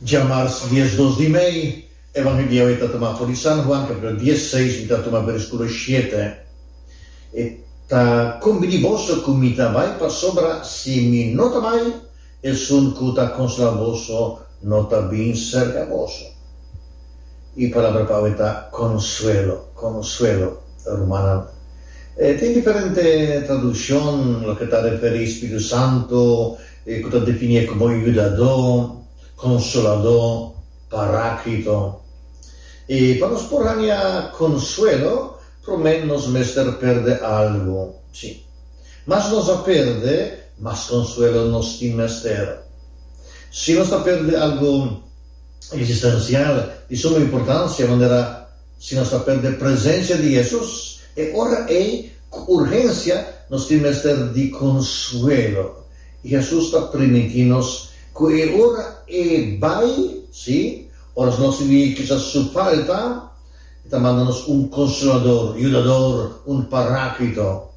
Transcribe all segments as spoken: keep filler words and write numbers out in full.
Djamars diesdos di mei, Evangelio ta tuma for di San Juan, capitulo diesseis, mi ta tuma versiculo shete. E ta combini boso cu mi ta bay, pasobra si mi no ta bay, esun cu ta consola boso no ta bin cerca boso. E palabra pa awe ta consuelo, consuelo, rumannan. E tin diferente traduccion loke ta referi Spiritu Santo, cu ta defini como yudador, consolador, paráclito. Y pa nos por haña consuelo, prome nos mester perde algo. Si. Mas nos a perde, mas consuelo nos tin mester. Si nos a perde algo existencial di suma importancia, manera si nos a perde presencia di Jesus, e ora ei, cu urgencia, nos tin mester di consuelo. Y Jesus ta priminti nos cu e ora e bay, si, ora nos sinti kisas su falta, e ta manda nos un consolador, yudador, un paráclito.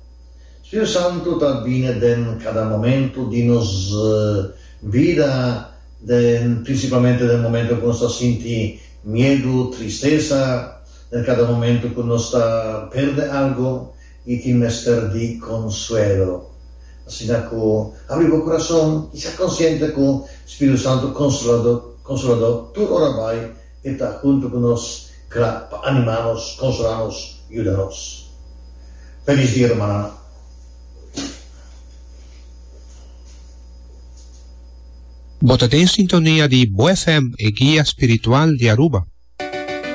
Spiritu Santo ta bini den cada momento di nos bida, den principalmente den momento cu nos ta sinti miedo, tristesa, den cada momento cu nos ta perde algo y tin mester di consuelo. Asina cu habri bo curason y sea consciente cu Spiritu Santo Consolador, Consolador tur ora bay e ta hunto cu nos, cla pa anima nos, consola nos, yuda nos. Feliz dia, rumannan. Bo ta den sintonia di Bo F M, e guia spiritual di Aruba.